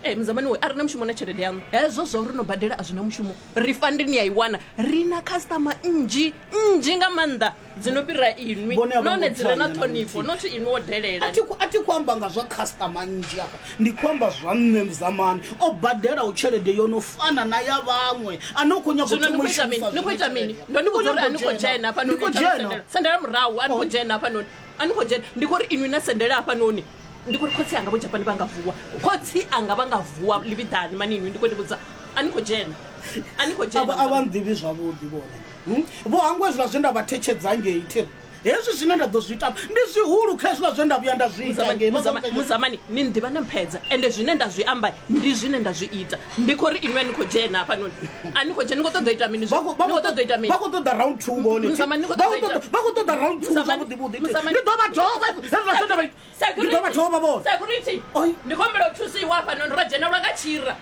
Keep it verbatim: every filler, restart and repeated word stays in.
Eh, muzamani we a ri na mushumo na tshelede yaṋu. Hezwo zwa uri no badela a zwi na mushumo. Refund ni a i wana. Ri na customer nnzhi nnzhi nga maanḓa dzi no fhira inwi, Vhone a vho nahone ngo dzi re na tswanya na ṱhonifho, luthihi. Not inwi wo delela. A thi khou- a thi khou amba nga zwa customer nnzhi afha, ndi khou amba zwa nṋe Muzamani o badelaho tshelede yo no fana na ya vhaṅwe ane u khou nyaga u Zwino ni thoma khou u ita mini? shumisa Ni khou ita zwine mini? tshelede. Ndo ni vhudza uri a ni khou Ndi khou dzhena hafhanoni. Ndi khou dzhena. Sendela- sendela murahu, a ni khou dzhena hafhanoni, a ni khou dzhena. Ndi khou ri inwi na sendela hafhanoni, ndi khou ri khotsi anga vho Japani vha nga vuwa, khotsi anga vha nga vuwa livhiḓani mani. Inwi ndi khou ni vhudza, a ni khou dzhena, a ni khou A vha- a vha dzhena. nḓivhi zwavhuḓi vhone. Hmm? Vho hangwa hezwiḽa zwe nda vha thetshedza ngei thiri. Hezwi zwine nda ḓo zwi ita ndi zwihulu kha hezwiḽa zwe nda vhuya nda zwi ita ngei. Muzamani, Muzamani, ni nḓivha na mphedza, ende zwine nda zwi amba ndi zwine nda zwi ita. Ndi khou ri inwi a ni khou dzhena hafhanoni, a ni khou dzhena. Ni khou ṱoḓa u ita mini? Vha khou- vha Ni khou khou ṱoḓa u ita mini? vha khou ṱoḓa round two vhone. Muzamani, ni khou Vha ṱoḓa khou u ita- ṱoḓa- vha khou ṱoḓa round two. Muzamani, Zwavhuḓi vhuḓi Muzamani. ndi ḓo vha dovha hezwiḽa zwe nda vha ita. Ndi ḓo vha dovha vhone. Security, Oi. ndi khou humbela u thusiwa hafhanoni, ro dzhenelwa nga tshira.